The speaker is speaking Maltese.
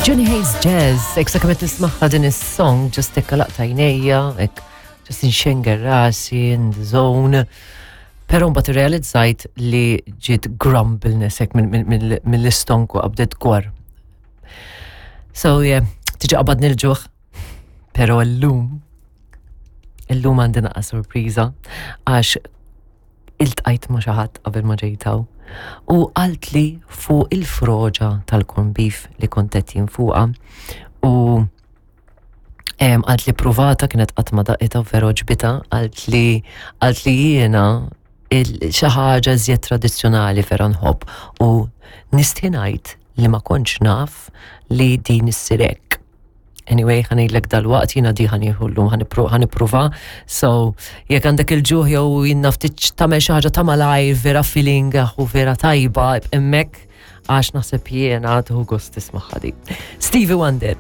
Johnny Hayes Jazz, ek sa kemet nismaħħa din is-song, just ekka laqta jnejja, ek just inxenger rasi, in the zone. Pero mbagħad irrealizzajt li ġiet grumbleness hekk mill-istonku qabdet gwar. So yeah, tiġi qabadni l-ġuħ. Pero llum, illum għandi naqa sorpriża għax iltqajt ma' xi ħadd qabel ma ġejt hawn u qaltli fuq il-froġa tal-corn beef li kont qed jien fuqha u għalt li pruvata kienet qatt ma daqitha u vera ġbita għalt li għalt li jiena xi ħaġa żjed tradizzjonali vera nħobb u nistħi ngħid li ma kontx naf li din issir hekk. Anyway, ħanejlek dal-waqt jina di ħanieħu llum ħanipruva. So, jekk għandek il-ġuħ jew jien ftit tagħmel xi ħaġa ta' malajr vera feeling u vera tajba hemmhekk għax naħseb jiena tieħu gost tisma' di. Stevie Wonder.